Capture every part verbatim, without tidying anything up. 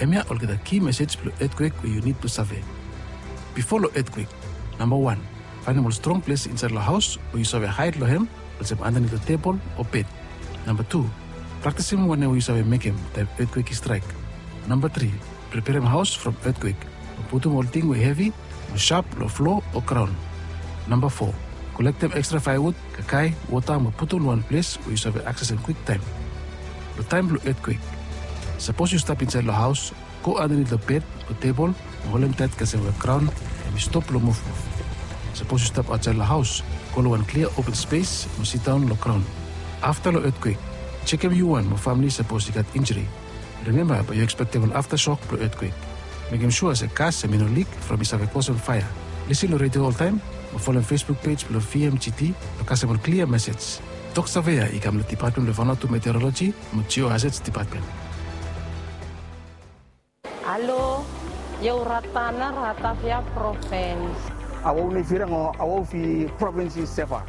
Hemia olgeta ki mesej blong etkwek we yu nid blong save. Bifo long etkwek, namba wan, faenem ol strong ples insaed long haos we yu save haed long hem, olsem andanit long tebol o bed. Namba tu, praktisim wanem we yu save mekem taem etkwek i straek. Namba tri, preperem haos from etkwek, mo putum ol ting we hevi o sharp long flo o graon. Namba fo, kolektem ekstra faewood, kakae, wota mo putum long wan ples we yu save aksesem kwiktaem. Long taem blong etkwek, sapos yu stap insaed long haos, go andanit long bed o tebol mo holem taet kasem we graon hemi stop long muvmuv. Sapos yu stap aotsaed long haos, go long wan klia open spes mo sidaon long graon. Afta long etkwek, jekem yu wan mo famle sapos i gat injuri. Rimemba bae yu ekspektem ol aftasok blong etkwek. Mekem sua se gas hemi no lik from i save kosem faea. Lisin long redio oltaem mo folem Facebook pej blong V M G T blong kasem ol klia mesej. Tok save ya i kam long Depatmen blong Vanuatu Meteoroloji mo Geohazards Depatmen. Halo, io Ratana, Ratavia Provins. Awau ni firang o awau fi provins i Seva.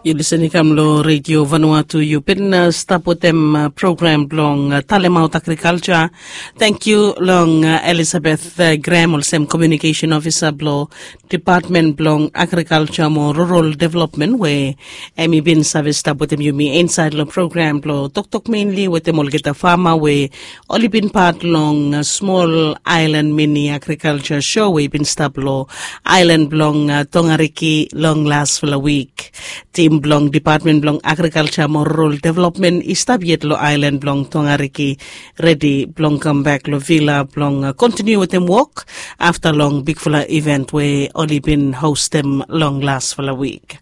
Yu lisin i kam long Redio Vanuatu, yu bin, uh, stap wetem, uh, program blong, uh, talemaot agrikalja. Tangkiu long, uh, Elizabeth, uh, Graham, olsem komiunikesen ofisa blong Depatmen blong Agrikalja mo Rural Developmen, we hemi bin save stap wetem yumi insaed long program blong toktok menli wetem olgeta fama we oli bin pat long, uh, smol aelan mini agrikalja sho we i bin stap long aelan blong, uh, Tongariki long lasfala wik. Tim blong Depatmen blong Agrikalja mo Rural Developmen i stap yet long aelan blong Tongariki, redi blong kambek long vila blong, uh, kontiniu wetem wok afta long bigfala iven we oli bin hostem long lasfala wik.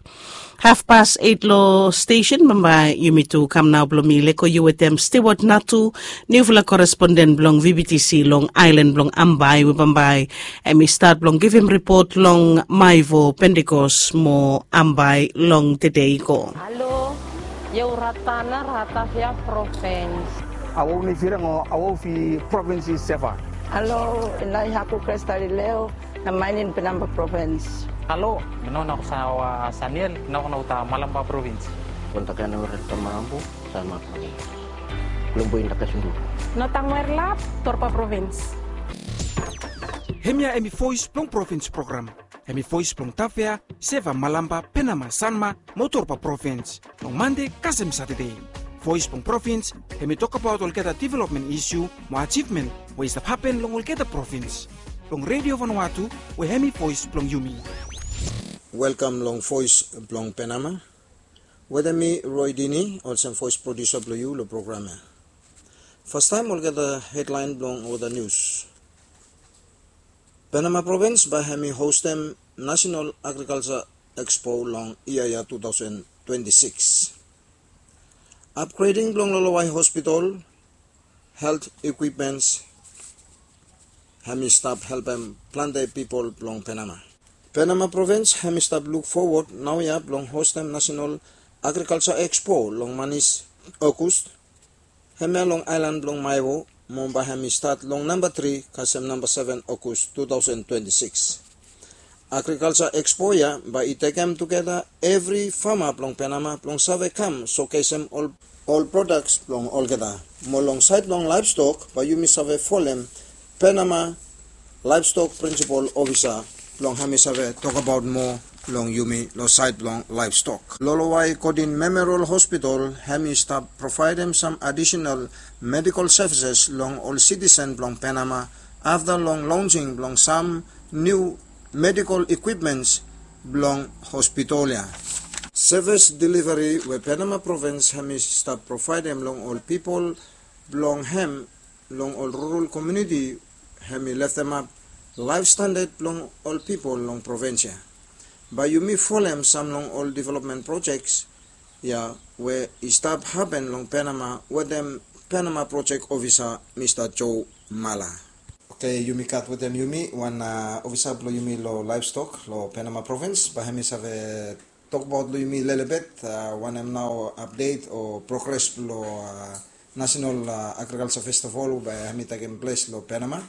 Hafpas eit long stesen, bambae yumi tu kam nao blong mi lego yu wetem Stewart Natu, niufala koresponden blong V B T C long aelan blong Ambae, we bambae hemi stat blong givim ripot long Maewo, Pentekos mo Ambae long tede i go. Halo, io Ratana, Ratavia Provins. Awau ni firang o awau fi provins i Seva. Halo, nai haku Krestalileo, na mainin Penama Provins. Halo, mi nao na ko sawa Saniel, nao ko na uta Malampa Provins. Kontak ya na uta Malampa, Sanma Provins. Kulombo inda kasundu. Nao tang wer lap, Torpa Provins. Hemia hemi Voes blong Provins program. Hemi voes blong Tafea, Seva, Malampa, Penama, Sanma mo Torpa Provins. Long Mande kasem Satade. Voes blong Provins hemi tokbaot olgeta developmen isiu mo ajivmen we i stap hapen long olgeta provins. Long Redio Vanuatu, we hemi voes blong yumi. Welkam long Voes blong Penama. Wetem mi Roy Dini, olsem voes prodiusa blong yu long program ya. Fastaem olgeta hedlaen blong olgeta nius. Penama Provins bae hemi hostem Nasenal Agrikalja Ekspo long yia ya tu taosen twenti sikis. Apgreding blong Lolowai Hospitol, helt ikwipmens, hemi stap helpem plante pipol blong Penama. Penama Provins hemi stap luk fowod naoia blong hostem Nasenal Agrikalja Ekspo long manis Ogos, hemia long aelan blong Maewo, mo bae hemi stat long namba tri kasem namba seven Ogos tu taosen twenti sikis. Agrikalja Ekspo ya bae i tekem tugeta evri fama blong Penama blong save kam sokesem ol, ol prodaks blong olgeta. Mo long saed blong laevstok bae yumi save folem Penama Laevstok Prinsipol Ofisa blong hemi save tokbaot moa long yumi long saed blong laevstok. Lolowai Godin Memorial Hospital hemi stap provaedem sam adisenal medikol sevises long ol sitisen blong Penama afta long lonsing blong sam niu medikol ikwipmens blong hospitol ya. Sevis delivari we Penama Provins hemi stap provaedem long ol pipol blong hem long ol rural komuniti hemi leftemap laef standad blong ol pipol long provins ya. Bae yumi folem sam long ol developmen projek ya we i stap hapen long Penama wetem Penama projek ofisa Mista Joe Mala. Oke, yumi gat wetem yumi wan, a, ofisa blong yumi long laevstok long Penama Provins, bae hemi save tokbaot long yumi lelebet, a, wanem nao apdet o progres blong, a, Nasenal, a, Agrikalja Festival we bae hemi tekem ples long Penama.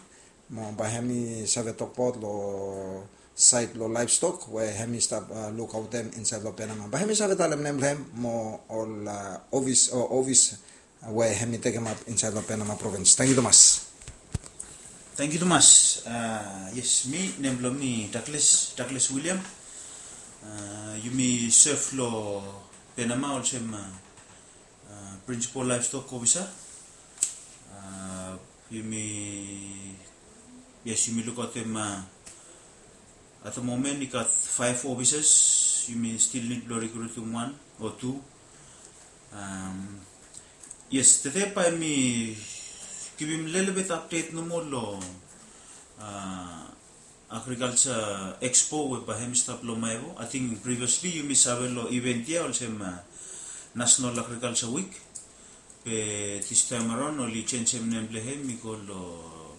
Mo bae hemi save tokbaot long saed long laevstok we hemi stap, a, lukaotem insaed long Penama. Bae hemi save talem nem blong hem mo ol, a, ofis, o, ofis we hemi tekemap insaed long Penama Provins. Tangkiu tumas. Tangkiu tumas. Yes, mi, nem blong mi Douglas, Douglas William. Yumi serve long Penama olsem principal livestock officer. Yumi, yes, yumi lukaotem, at the moment i gat five officers. Yumi still nid blong rekrutim wan o tu. Yes, tede bae mi givim lelebet update nomo long agriculture expo we bae hem i stap long Maewo. Ating previously yumi save long event ya olsem National Agriculture Week. Be this time around oli jenjem nem blong hem i go long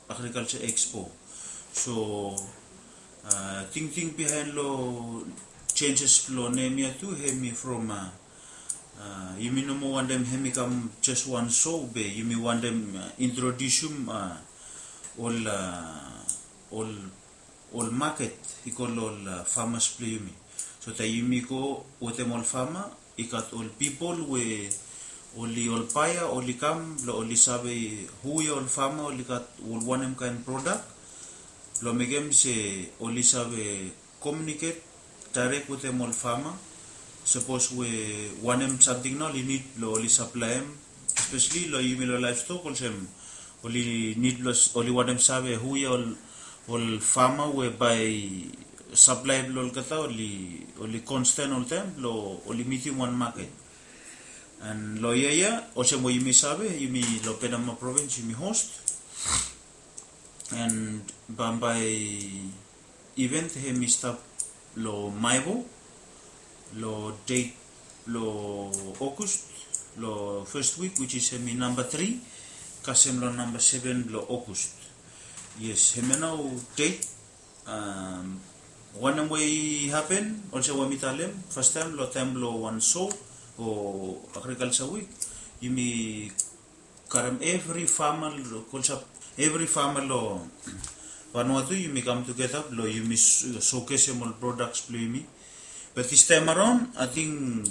Agriculture Expo. So tingting bihaen long jenjes blong nem ya tu hem i from yumi no moa wantem hem i kam jes wan show, be yumi wantem introdiusim ol ol ol maket i go long ol famas blong yumi. So taem yumi go wetem ol fama, i gat ol pipol we oli ol baea oli kam blong oli save hu ya ol fama oli gat ol wanem kaen prodak, blong mekem se oli save communicate direct wetem ol fama. Sapos we wanem samting nao oli nid blong oli saplaem, especially long yumi long livestock olsem oli nid blong oli wantem save hu ya ol ol fama we bae saplae blong olgeta oli oli constant oltaem blong oli mitim wan maket. And long yia ya olsem we yumi save, yumi long Penama provins yumi host. And bambae event hem i stap long Maewo long date blong August, long first week, which is hem i namba tri kasem long namba seven blong August. Yes, hemia nao date. Wanem we i hapen olsem we mi talem fastaem long taem blong wan show o Agriculture Week, yumi karem evri fama long Vanuatu, yumi kam tugeta blong yumi showcasem ol products blong yumi. But this time around ating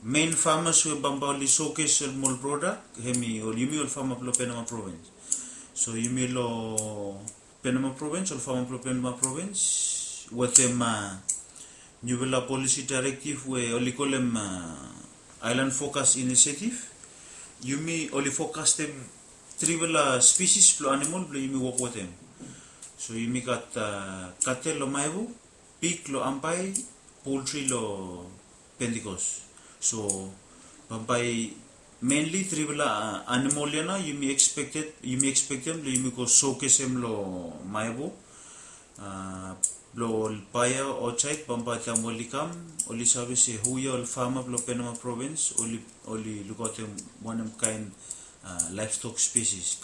main farmers we bambae oli showcasem ol product hem i ol yumi ol fama blong Penama provins. So yumi long Penama provins, ol fama blong Penama provins wetem niufala policy directive we oli kolem Island Focus Initiative. Yumi oli fokastem trifala species blong animal blong yumi wok wetem. So yumi gat cattle long Maewo, pig long Ambae, poultry long Pentecost. So bambae mainly trifala animal ya nao yumi expected, yumi expectem blong yumi go showcasem long Maewo blong ol baea aotsaed bambae taem oli kam oli save se hu ya ol fama blong Penama provins oli oli lukaotem wanem kaen livestock species.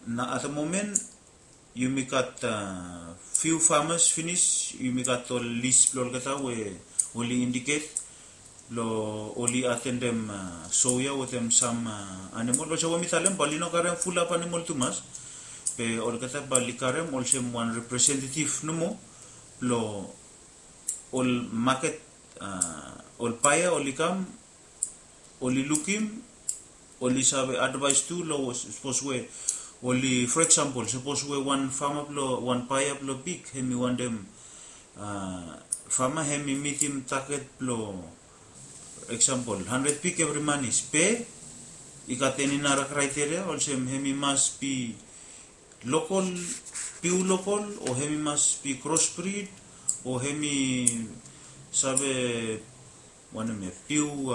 Nao at the moment yumi gat fiu famas finis, yumi gat ol lis blong olgeta we oli indicate blong oli atendem show ya wetem sam animal. Olsem we mi talem bae oli no karem fulap animal tumas, be olgeta bae oli karem olsem wan representative nomo blong ol maket, ol baea oli kam oli lukim, oli save advaes tu long sapos we oli, for example, sapos we wan fama blong wan baea blong pig hem i wantem fama hem i mitim target blong example handred pig evri manis, be i gat eni nara kraiteria olsem hem i mas bi lokol, piu lokol, o hem i mas bi crossbreed, o hem i save wanem ya, piu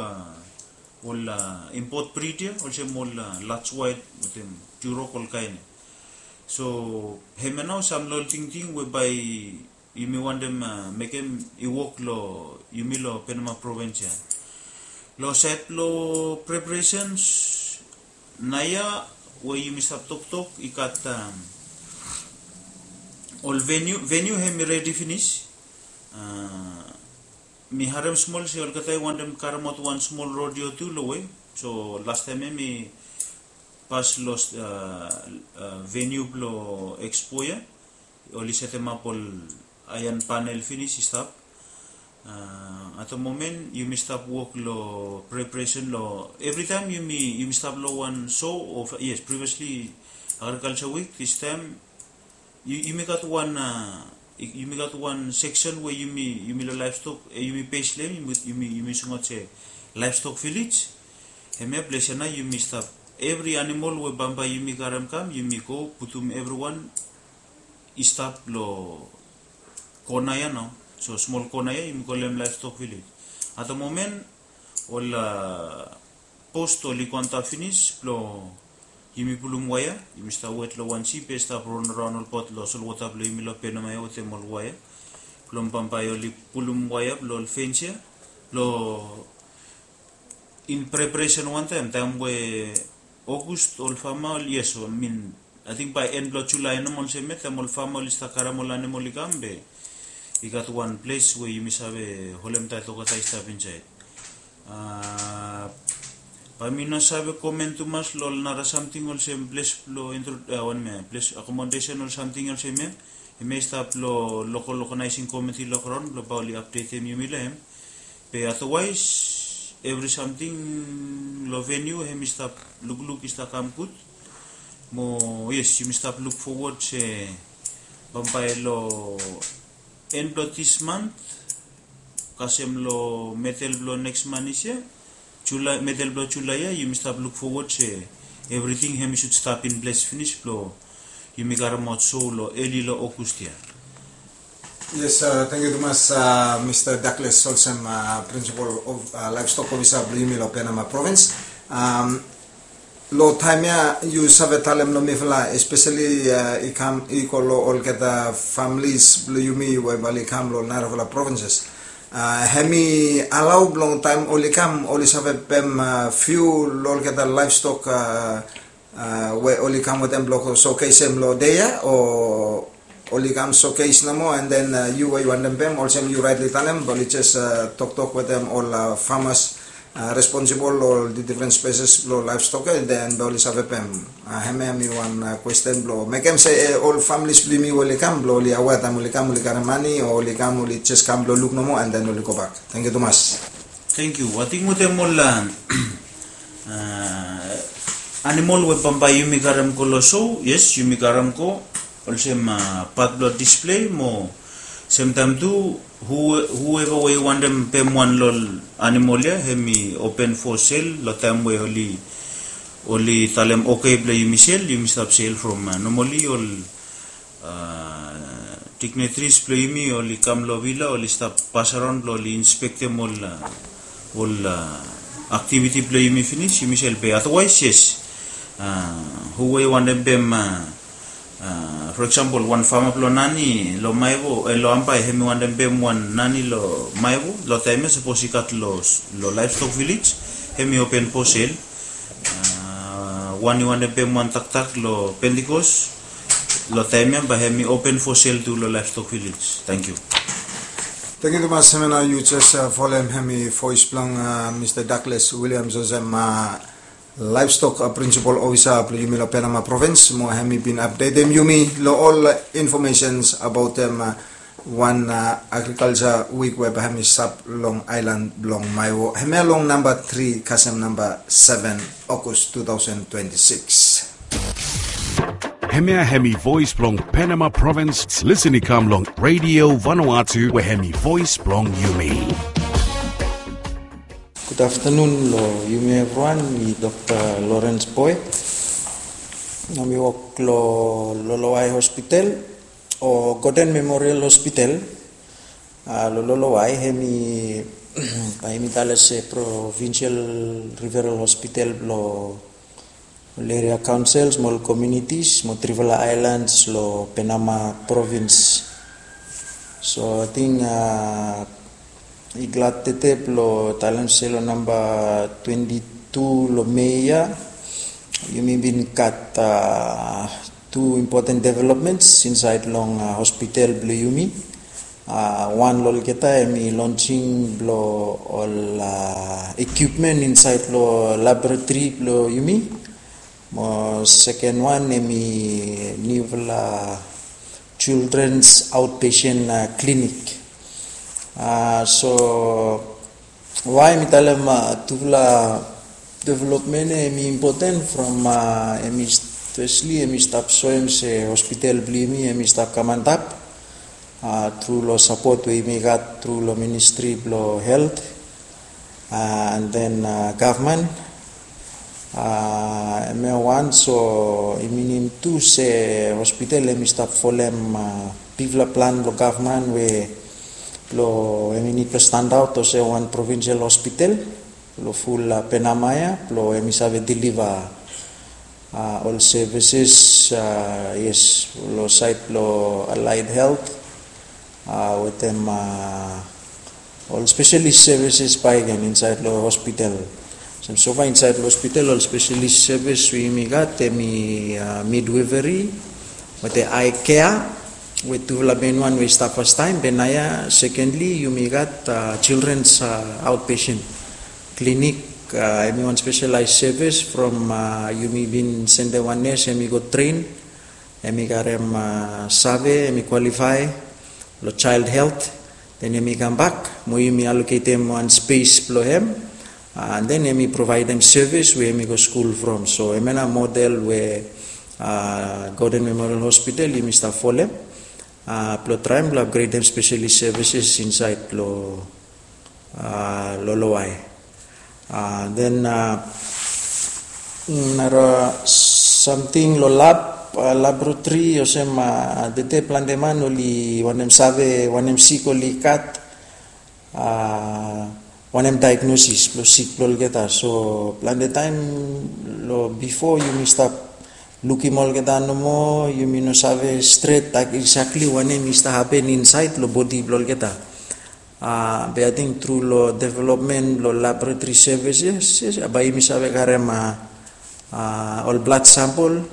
ol import breed ya olsem ol Large White wetem Duroc, ol kaen ya. So hemia nao sam long ol tingting we bae yumi wantem mekem i wok long yumi long Penama provins ya. Long saed blong preparations naoia we yumi stap toktok i gat ol venue, venue hem i redi finis. Mi harem smol se olgeta i wantem karemaot wan smol rodeo tu long we. So lastaem ya mi pas long venue blong expo ya, oli setemap ol aean panel finis i stap. At the moment yumi stap wok long preparation long evritaem yumi yumi stap long wan show o, yes, previously Agriculture Week, this time, yu- yumi gat wan, uh, yumi gat wan section we yumi, yumi lo livestock, eh, yumi pes lo hem, yumi, yumi, yumi singaot se livestock village. Hemia ples ya nao yumi stap. Evri animal we bambae yumi karem kam, yumi go putum evriwan i stap lo kona ya nao. So smol kona ya yumi kolem livestock village. At the moment, ol, uh, post oli go antap finis blo yumi pulum waea, yumi stap wet lo wan sip i stap ron raon olbaot lo solwota blo yumi lo Penama ya wetem ol waea. Blo bambae oli pulum waea blo ol fens ya. Blo in preparation wantaem, taem we August ol fama oli, yes, I mean, ating bae en blo Julae nomo olsem ya, taem ol fama oli stap karem ol animal i kam be i gat wan ples we yumi save holem taet olgeta i stap insaed. Uh, bae mi no save komen tumas lo ol nara samting olsem ples blo intro, uh, wanem ya, ples accommodation ol samting olsem ya. Hemia i stap lo local organizing committee lo graon blo bae oli apdetem yumi lo hem. Be otherwise, evri samting lo venue hemi stap lukluk i stap kam gud. Mo yes, yumi stap luk fowod se bambae lo en blo this month kasem lo medel blo neks manth ya, Julae, medel blo Julae ya, yumi stap luk fowod se evriting hemi sud stap in ples finis blo yumi karemaot show lo eli lo August ya. Yes, uh, tangkiu tumas, uh, Mr Douglas olsem, uh, principal of, uh, livestock officer blo yumi lo Penama province. Um, lo taem ya yu save talem lo mifala, especially, uh, i kam i go lo olgeta families blo yumi we bae oli kam lo narafala provinces. Uh, hemi alao blong taem oli kam oli save pem, uh, few lo olgeta livestock, uh, uh, we oli kam wetem blo go showcasem lo dei ya, o oli kam showcase nomo, and then, uh, yu we yu wantem pem olsem yu rightly talem, bae oli jes, uh, toktok wetem ol, uh, farmers, uh, responsible lo ol different species blo livestock ya, and then bae oli save pem. Uh, hemia hemi wan, uh, question blo mekem se, eh, ol families blo yumi we oli kam blo oli aware taem oli kam oli karem mane o oli kam oli jes kam blo luk nomo and then oli gobak. Tangkiu tumas. Tangkiu. Ating wetem ol, uh, animal we bambae yumi karem go lo show, yes, yumi karem go olsem, uh, pat blo display mo semtaem tu, who- whoever we i wantem pem wan lo ol animal ya, hemi open for sale lo taem we oli, oli talem okay blo yumi sel, yumi stap sel from, uh, normally ol, uh, dignitaries blo yumi oli kam lo villa, oli stap pasaraon blo oli inspektem ol, uh, ol, uh, activity blo yumi finis, yumi sel. Be otherwise, yes. Uh, who we i wantem pem, uh, uh, for example, wan fama blo nani lo Maewo, eh, lo Ambae, hemi wantem pem wan nani lo Maewo, lo taem ya sapos i gat lo, lo livestock village, hemi open for sale. Uh, wan i wantem pem wan taktak lo Pentecost, lo taem ya bae hemi open for sale tu lo livestock village. Tangkiu. Tangkiu tumas. Hemia nao yu jes, uh, folem hemi voes blong, uh, Mr Douglas Williams olsem, uh, livestock, uh, principal officer blo yumi lo Penama province, mo hemi bin apdetem yumi lo ol informations abaot, um, uh, wan, uh, agriculture week we bae hemi stap long aelan blong Maewo. Hemia long namba tri kasem namba seven August two thousand twenty-six. Hemia hemi voes blong Penama province, listen i kam long Radio Vanuatu we hemi voes blong yumi. Gud aftanun lo yumi evriwan, mi Dokta Lawrence Boy. Nao mi wok lo Lolowai Hospital o Gordon Memorial Hospital. Uh, lo Lolowai hemi, bae yumi tale se provincial referral hospital blo ol area councils mo ol communities mo trifala islands lo Penama province. So ating, uh, i glad tede blo talem se lo namba twenty-two lo Mei ya yumi bin gat, uh, tu important developments insaed long, uh, hospital blo yumi. Uh, wan lo olgeta hemi launching blo ol, uh, equipment insaed lo laboratory blo yumi. Mo seken wan hemi niufala children's outpatient, uh, clinic. Uh, so wae mi talem, uh, tufala development ya hemi important from, uh, hemi st- Espeseli em i stap soem se hospital blong yumi em i stap kam antap tru long sapot we yumi gat tru long ministri blong helt and then gavman. Em ya wan so i minim tu se hospital em i stap folem bigfala plan blong gavman we blong em i nid blong standaot olsem wan provinsel hospital long ful penama ya blong em i save diliva ol sevises, yes, long saed blong alaed helt wetem ol spesalis sevises bakegen insaed long hospital. Olsem sofa insaed long hospital ol spesalis sevis we yumi gat em i midwifery wetem ae kea we tufala men wan we i stap fastaem. Be naoia sekendli yumi gat childrens outpatient klinik. Em i wan spesalaes sevis from yumi bin sendem wan nes em i go tren, em i karem save, em i kwalifae long child helt. Den em i kambak mo yumi aloketem wan spes blong em. Den em i provaedem sevis we em i go skul from. So em ya na model we Gordon Memorial Hospital yumi stap folem blong traem blong apgredem spesalis sevises insaed long lolowae. Den nara samting long lab, laboratori olsem tete plante man oli wanem save wanem sik oli gat, wanem daegnosis blong sik blong olgeta. So plante taem long bifo yumi stap lukim olgeta nomo, yumi no save stret exactly wanem i stap hapen insaed long bodi blong olgeta. Be ating tru long developmen blong laboratori sevises bae yumi save karem ol blad sampol,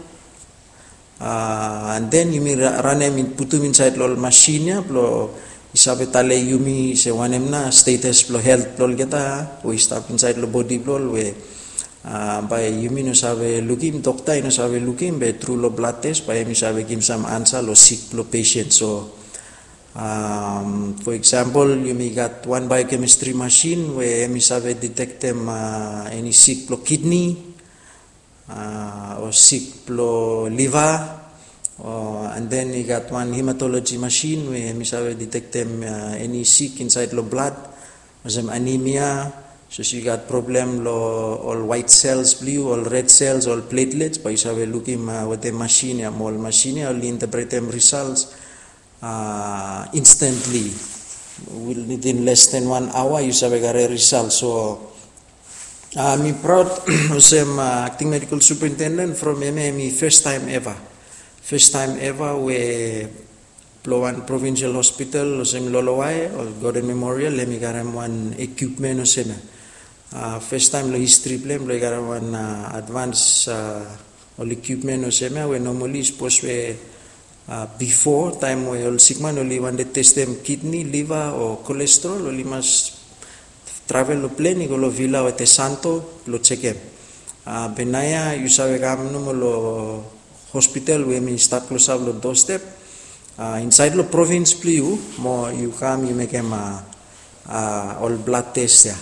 and den yumi ranem putum insaed long ol masin ya blong i save talem yumi se wanem na stetas blong helt blong olgeta we i stap insaed long bodi blong ol we bae yumi no save lukim, dokta i no save lukim, be tru long blad tes bae yumi save givim sam ansa long sik blong pesen. So fo eksampol yumi gat wan biokemistri masin we em i save detektem eni sik blong kidni o sik blong liva. And den i gat wan hematoloji masin we em i save detektem eni sik insaed long blad olsem anemia, sapos yu gat problem long ol waet sels blong yu, ol red sels, ol pletlets, bae yu save lukim wetem masin ya mo ol masin ya oli intepretem risals instantli. Within less than wan aoa yu save karem risal. So mi praod olsem akting medikal superintenden from em ya em i festaem eva, festaem eva we blong wan provinsel hospital olsem lolowae o Gordon Memorial em i karem wan ekipmen olsem ya. Festaem long histri blong em blong i karem wan advans ol ekipmen olsem ya we nomali sapos we bifo taem we ol sikman oli wantem testem kidni, liva o kolestrol oli mas travel long plen i go long vila wetem santo blong jekem. Be naoia yu save kam nomo long hospital we em i stap klosap long dostep insaed long provins blong yu mo yu kam yu mekem ol blad tes ya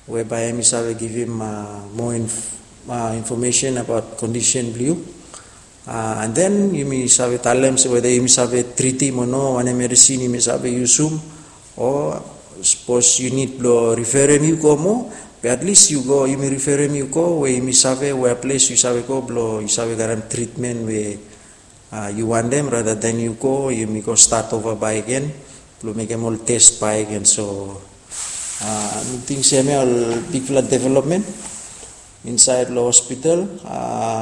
we bae em i save givim moa infomesen abaot kondisen blong yu. And then yumi save talem se weda yumi save tritim o no, wanem medisin yumi save yusum, o sapos yu nid blong riferem yu go moa, be atlis yu go, yumi riferem yu go we yumi save wea ples yu save go blong yu save karem tritmen we yu wantem, rather than yu go yumi go stat ova bakegen blong mekem ol tes bakegen. So mi ting se hemia ol bigfala developmen insaed long hospital.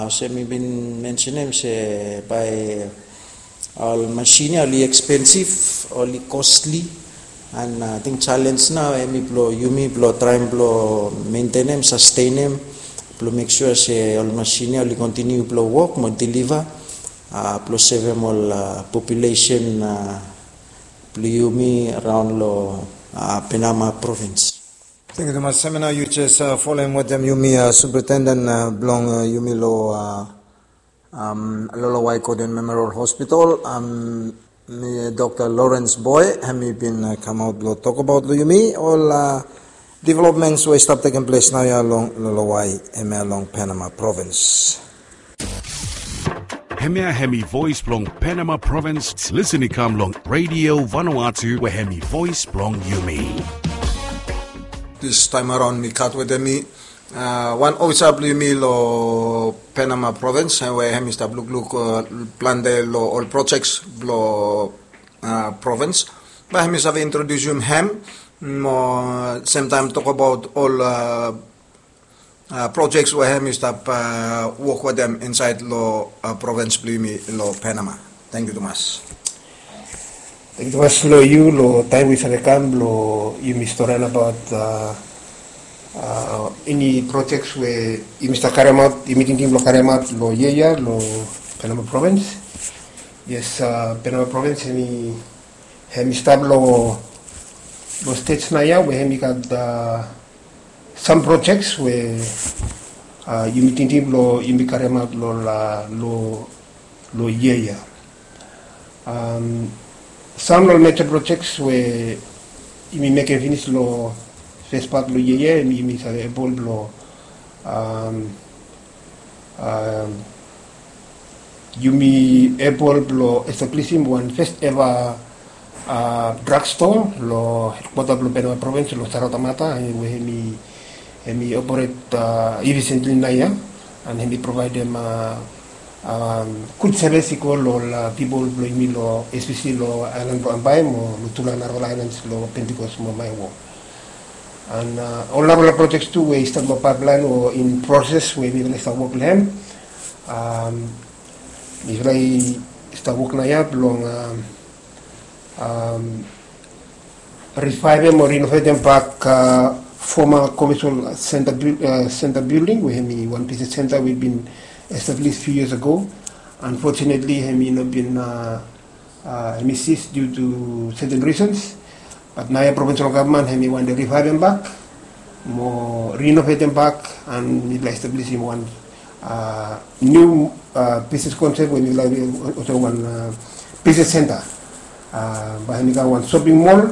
Olsem mi bin mensenem se bae ol masin ya oli ekspensif, oli kosli, and ating jalenj nao hemi blong yumi blong traem blong mentenem, sastenem, blong mek sua se ol masin ya oli kontiniu blong wok mo diliva blong sevem ol populesen blong yumi raon long Penama provins. Tangkiu tumas. Hemia nao yu jes folem wetem yumi superintenden blong yumi long Lolowai Gordon Memorial Hospital, mi Dokta Lawrence Boy, hemi bin kamaot blong tokbaot long yumi ol developments we i stap tekem ples naoia long Lolowai hemia long Penama provins. Hemia hemi voes blong Penama Provins. Lisen i kam long Radio Vanuatu we hemi voes blong yumi. This time around mi gat wetem mi, uh, wan ofisa blong yumi long Penama Provins, eh, we hemi stap lukluk, uh, plante long ol projects blong, uh, provins. Bae hemi save introdiusim hem mo semtaem tokbaot ol, uh, uh, projects we hemi stap, uh, wok wetem insaed long, uh, provins blong yumi long Penama. Tangkiu tumas. Tangkiu tumas long yu long taem we yu save kam blong yumi storian abaot, uh, uh, eni projects we yumi stap karemaot, yumi tingting blong karemaot long yia ya long Penama Provins. Yes, uh, Penama Provins hemi, hemi stap long, long stej naoia we hemi gat, uh, sam projects we, uh, yumi tingting blong yumi karemaot long, uh, long, long yia ya. Um, sam long major projects we yumi mekem finis long fes pat blong yia ya, yumi, yumi save ebol blong, um, um, yumi ebol blong establisim wan fes eva, uh, drugstore long hedkwata blong Penama Provins long Saratamata, eh, we hemi, hemi operate, uh, efficiently naoia, and hemi provaedem, uh, um, gud sevis i go long ol, uh, pipol blong yumi long, especially long aelan blong Ambae mo long tufala narafala aelans long Pentecost mo Maewo. And, uh, ol narafala projects tu we i stap long pipeline o in process we mifala i stap wok long hem. Um, mifala i stap wok naoia blong, um, um, revivem o renovatem bak, uh, former commercial center buil-, uh, center building we hemi wan business center we bin establish few years ago. Unfortunately, hemi no bin, uh, uh, hemi cease due to certain reasons. But naoia provincial government hemi wantem revivem bak mo renovatem bak, and mifala establisim wan, uh, niu, uh, business concept we mifala olsem wan, uh, business center. Uh, bae hemi kam wan shopping mall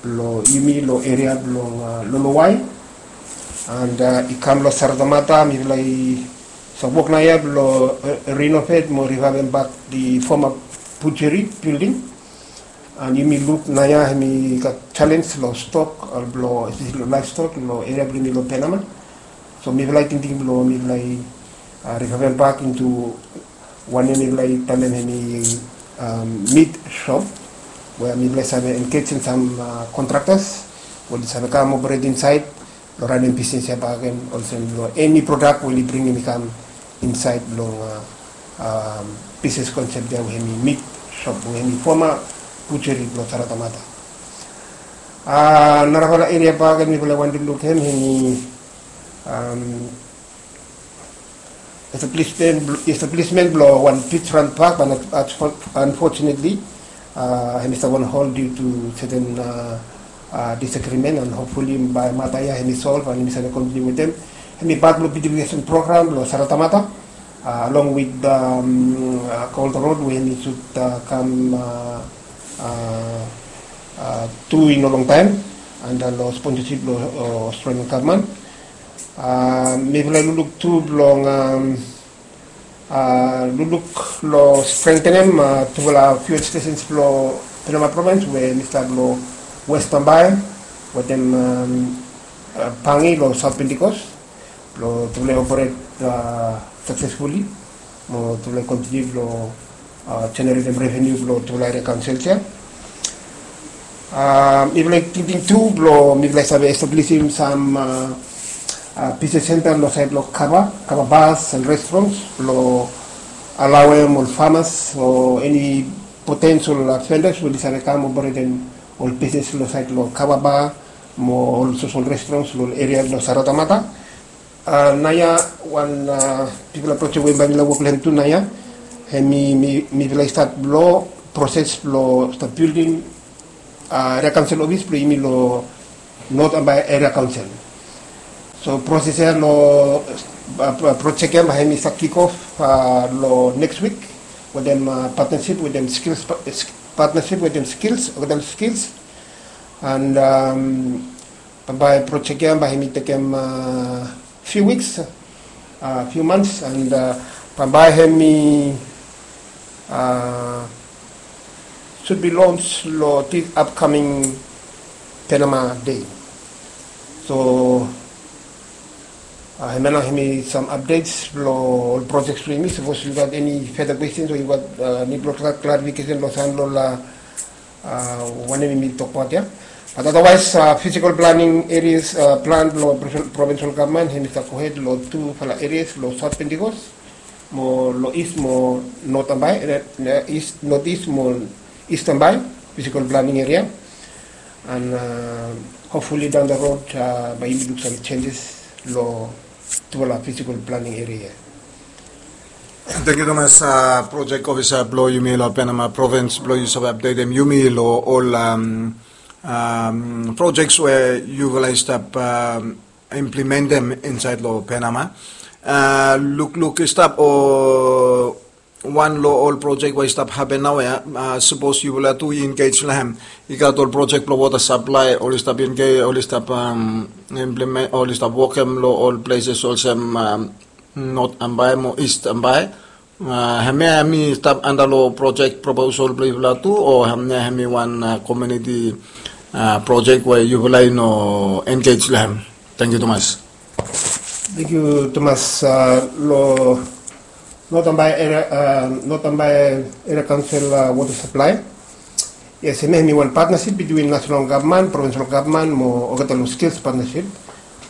blong yumi long area blong, uh, Lolowai. And, uh, i kam long Saratamata, mifala i stap wok naoia blong, uh, renovate mo revivem bak the former butchery building. And yumi luk naoia hemi gat challenge long stock, uh, blong, especially long livestock long area blong yumi long Penama. So mifala i tingting blong mifala i, uh, revivem bak into wanem mifala i talem hemi, um, meat shop, we mifala i save engagem sam, uh, contractors we oli save kam operate insaed long ranem bisnis ya bakegen, olsem long eni prodak we oli bringim i kam insaed long, uh, um, bisnis concept ya we hemi meat shop we hemi former butchery blong Saratamata. Uh, narafala area bakegen mifala i wantem luk hem hemi, um, establishment, establishment blong wan beachfront park, but unfortunately, uh, hemi stap on hold due to certain, uh, uh, disagreement, and hopefully bae mata ya hemi solve and yumi save continue wetem hemi part blong beautification program blong Saratamata, uh, along with, um, uh, Golden Road we hemi should, uh, kam, uh, uh, uh, tu i no longtaem, and, uh, long sponsorship blong, uh, Australian government. Uh, mifala i lukluk tu blong, um, uh, lukluk long strengthenem, uh, tufala fuel stations blong Penama Province we hemi stap long West Ambae wetem, um, uh, Pangi long South Pentecost blong tufala i operate, uh, successfully mo tufala i continue blong, uh, generatem revenue blong tufala area councils ya. Uh, mifala i tingting tu blong mifala i save establishim sam, uh, uh, business center long saed blong kava, kava bars and restaurants blong alaoem ol farmers o eni potential, uh, vendors we oli save kam operetem ol business long saed long kava bar mo ol social restaurants long area blong Saratamata. Uh, naoia wan, uh, bigfala project we bae mifala i wok long hem tu naoia, hemi, mi, mifala i stat long proses blong stap building, uh, area council office blong yumi long North Ambae Area Council. So proses ya long, uh, project ya bae hemi stat kick off, uh, long next week wetem, uh, partnership wetem skills, partnership wetem skills, wetem skills. And, um, bambae project ya bae hemi tekem, uh, few weeks, uh, few months, and, uh, bambae hemi uh, should be launched lo this upcoming Panama Day. So uh, hemia nao hemi some updates lo ol projects blo yumi. Sapos yu gat eni further questions o yu gat uh, nid blo clarification lo sam lo ol uh, wanem yumi tokbaot ia. But otherwise uh, physical planning areas uh, plan lo provincial government hemi stap gohed lo tufala areas lo South Pentecost mo lo east mo North Ambae, eh, eh, east, northeast mo East Ambae physical planning area. And uh, hopefully down the road uh, bae yumi luk some changes lo tufala physical planning area. Thank you tumas uh, project officer blo yumi lo Panama province blo yu save updatem yumi lo ol um, um, projects we yufala i stap um, implementem insaed lo Panama. Uh, lukluk i stap o wan lo ol project we i stap hapen naoia, uh, sapos yufala tu i engage lo hem. I gat ol project blo water supply oli stap engage, oli stap um, implement, oli stap wokem lo ol places olsem um, North Ambae mo East Ambae. Uh, hemia hemi stap anda lo project proposal blo yufala tu o hemia hemi wan uh, community uh, project we yufala i no engage lo hem. Thank you tumas. Thank you tumas uh, lo North Ambae area, uh, North Ambae area council uh, water supply. Yes, hemia hemi wan partnership between national government, provincial government mo olgeta lo skills partnership.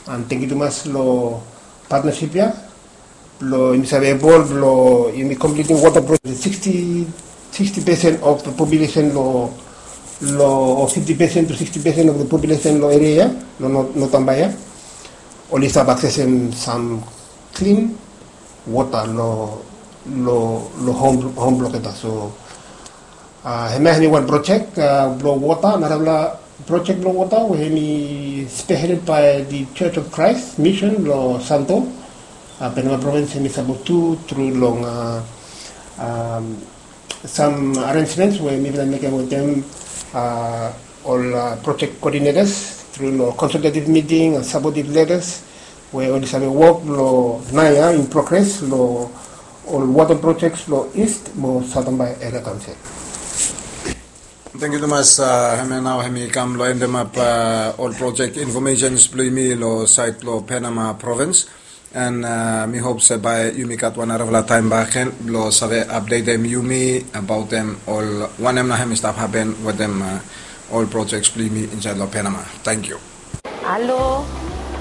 And thank you tumas lo partnership ia. Lo yumi save evolve lo yumi completing water project sixty, sixty percent of the population lo lo fifty percent to sixty percent of the population lo area ia lo North Ambae ia. Oli stap accessem some clean water lo lo lo home home blo olgeta. So uh, hemia hemi wan project uh, blo water, narafala project blo water we hemi spearheaded by the Church of Christ Mission lo Santo. Uh, Panama province hemi sapot tu tru long uh, um, some arrangements we mifala mekem wetem uh, ol uh, project coordinators tru lo consultative meeting and supportive letters we oli save wok lo naoia in progress lo ol water projects lo East mo South Ambae area council. Thank you tumas. Uh, hemia nao hemi kam lo endemap uh, ol project informations blo yumi lo saed lo Panama province. And uh, mi hop se bae yumi gat wan narafala taem bakegen blo save updatem yumi abaotem ol wanem nao hemi stap hapen wetem uh, ol projects blo yumi insaed lo Panama. Thank you. Alo,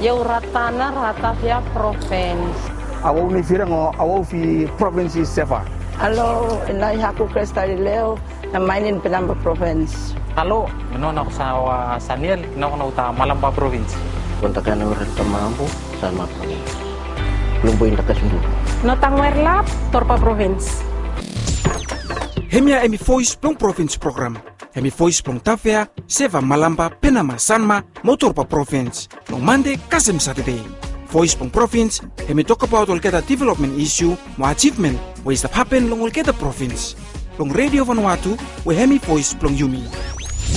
yau Ratana, Ratavia province. Awau ni firang o awau fi province is Seva. Alo, ina i haku Krista i leo, na mainin Penamba province. Alo, ino na ko sa wa Saniel, ino na uta Malamba province. Konta kana uran tamambu, Sanma province. Lumbu inta kasundu. No tangwer lap, Torpa province. Hemia hemi voice blong province program. Hemi voice blong Tavea, Seva, Malamba, Penama, Sanma, mo Torpa province. Long Mande kasem Satade. Voice blong province, hemi tokbaot olgeta development issue mo achievement we i stap hapen long olgeta province. Long Radio Vanuatu, we hemi voice blong yumi.